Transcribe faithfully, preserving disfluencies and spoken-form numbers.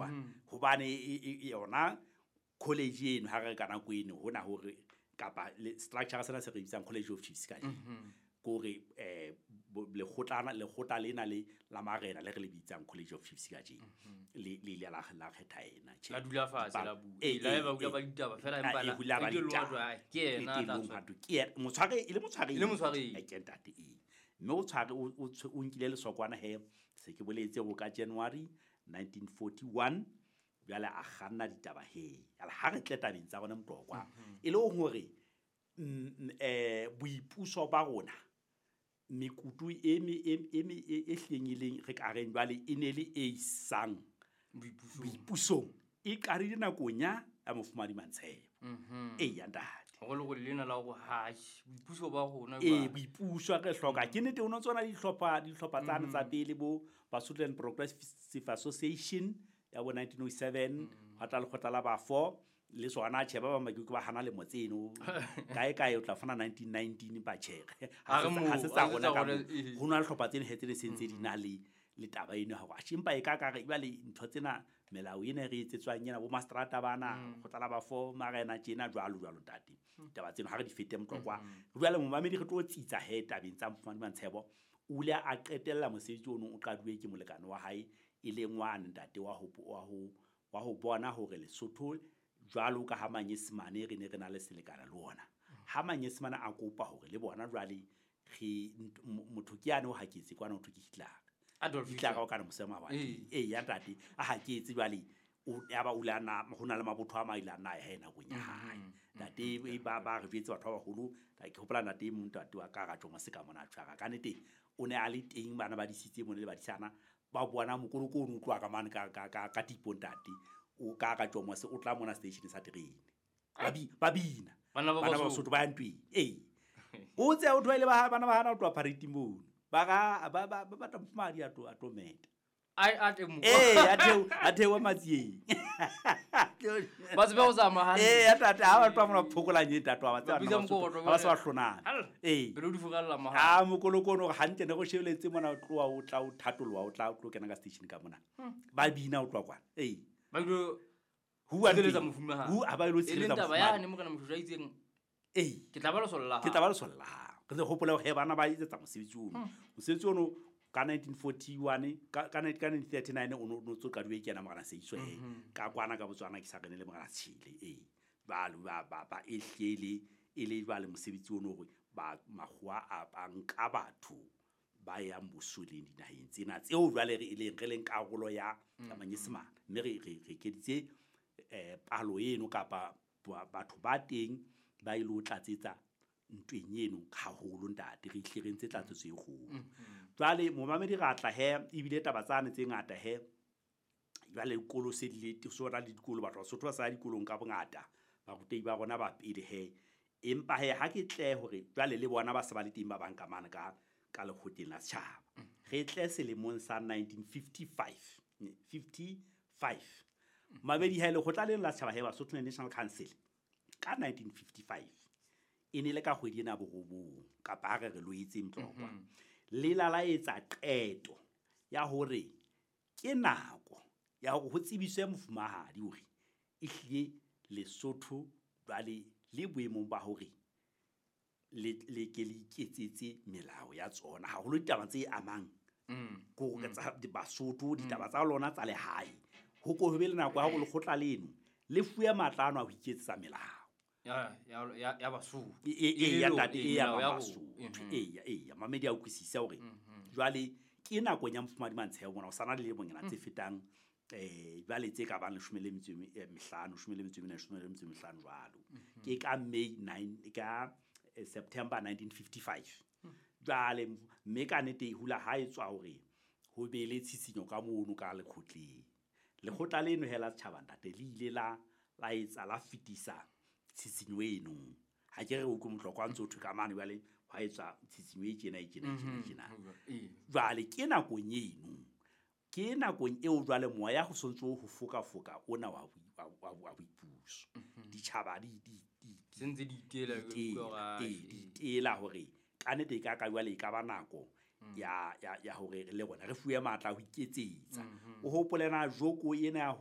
Mtlokwa hobane yona college eno ha re ka nako eno hona hore kapa structure sena se re bitsang College of Chiefs ka kore eh lekgotlana lekgotla lena le la marena le re le bitsang College of Chiefs ka jeno le le ile la la kgetha ena la dula fatshe la bua la ba bua ba ditaba fela empa la ke yena tla ke yena motshware e le motshware le motshware ke ntate e mme o tshware o nkile lesokwana he se ke boletse go ka January nineteen forty-one jwale a kganna ditaba he ala ha re tle tabeng tsa rona Mtlokwa e le hore eh boipuso ba rona mekutu e me e me e hlengileng re ka reng jwale e ne le e isang boipusong e qadile nakong ya mofumadi Mantshebo e ya ntate hore le gore lena la hore ha boipuso ba rona e boipuso re hloka ke nete ono tsona dihlopha dihlopha tsane tsa pele bo Basutoland Progressive Association ya bo nineteen oh seven ha tla lekgotla la bafo le sona tjhe ba ba makuku ba hana le motseno kae kae o tla fana nineteen nineteen ba tjhe ha se tsa rona ka ho na le hlopha tsene hetse le sentse di na le le taba eno ha wa shimpa e ka ka re jwale ntho tsena melao ena re etsetswang ena bo mastrata bana go tlala ba fo marena tjena jwalo jwalo ntate taba tseno ha re di fete Mtlokwa jwale momamedi re tlo tsitsa he tabeng tsa mofumadi Mantshebo o ile a qetella mosebetsi ono o qaduwe ke molekane wa hae e leng wa ntate wa ho wa ho wa ho bona hore Lesotho jwalo ka ha Manyesemane re ne re na le selekana le ona ha Manyesemane a kopa hore le bona jwale re motho ke yane o haketse kwana o ke Hitler Adolf Hitler o kana mosema wa e ya ntate a haketse jwale o ya ba ulana hona le mabotho a maile ana ya hena go nya hae ntate e ba ba re jwetse batho ba baholo ke hopola ntate e mong ntate wa ka ra tjoma se ka mona tshwara ka nete o ne a le teng bana ba disitse mone le badisana ba bona mokoloko o utlwa ka mane ka ka ka tipo ntate o ka ka tjoma se o tla mona station sa terene ba bi ba bina bana ba Basotho ba ntwe e o tse o tloile ba bana ba hana o tloa parade mono ba ga ba ba ba batla madi a to a tometa ai a te mo eh a theo a theo matsieng ba tsebe ho tsamaya hantle eh a tata ha ba tloa mona phokolanye tata ba tseba ba se ba hlonana eh pele o di furalla maha ha mokoloko ono hantle ne go shebeletse mona o tloa o tla o thatoloa o tla o tlo kena ka station ka mona ba bina o tloa kwana eh ba ilo huwa tshireletsa mofumahadi hu a ba ilo tshireletsa mofumahadi taba yane morena Moshoeshoe a itseng eh ke tla ba le solla ke tla ba le solla re se hopola hore bana ba etsetsa mosebetsi ono mosebetsi ono ka nineteen forty-one ka ka nineteen thirty-nine ono no tso qaduwe ke yena morena Seiso he ka kwana ka Botswana ke sa rene le morena Tshile eh ba ba ba ba ehlele e le jwale mosebetsi ono hore ba makgowa a ba nka batho ba yang bosoleng dinaheng tsena tseo jwale re eleng re leng karolo ya Manyesemane mme re re re keditse eh palo eno kapa batho ba teng ba ile o tlatsetsa ntweng eno haholo ntate re ihle re ntse tlatsetso e kgolo jwale momamedi ra tla he ebile taba tsane tse ngata he jwale dikolo se di le sona le dikolo batho ba Sotho ba sa dikolong ka bongata barutehi ba rona ba pele he empa he ha ke tle hore jwale le bona ba se ba le teng ba bang ka mane ka ka lekgotleng la setjhaba re tle selemong sa nineteen fifty-five fifty-five mabedi ha lekgotla leno la setjhaba he Basotho National Council ka nineteen fifty-five e ne le ka kgwedi ena borobong kapa ha re re loetse Mtlokwa le la la etsa qeto ya hore ke nako ya hore ho tsebiswe mofumahadi hore ehlile Lesotho jwale le boemong ba hore le le ke le iketsetse melao ya tsona haholo ditaba tse amang ko re tsa Basotho ditaba tsa lona tsa lehae ho ko be le nako ya hore lekgotla leno le fuwe matla ano a ho iketsetsa melao ya ya ya Basotho e e ya ntate e ya Basotho e ya e ya mamedi a utlwisisa hore jwale ke nako ya mofumadi Mantshebo mona o sana le lemonyana tse fetang eh jwale tse ka bang leshome le metso e mehlano leshome le metso e mene leshome le metso e mehlano jwalo ke ka May nine ka September nineteen fifty-five jwale mme ka nete hula ha e tswa hore ho be le tshisinyo ka mono ka lekgotleng lekgotla leno hela setjhaba ntate le ile la la etsa la fetisa tshisinyo eno ha ke re o utlwe Mtlokwa ntse o thwe ka mane jwale ha etswa tshisinyo e tjena e tjena e tjena tjena jwale ke nakong eno ke nakong eo jwale moya ho sontso ho foka foka ona wa wa boipuso ditjhaba di di di sentse di itela di itela hore ka nete ka ka jwale e ka ba nako ya ya ya hore le rona re fuwe matla ho iketsetsa o hopole na joko ena ya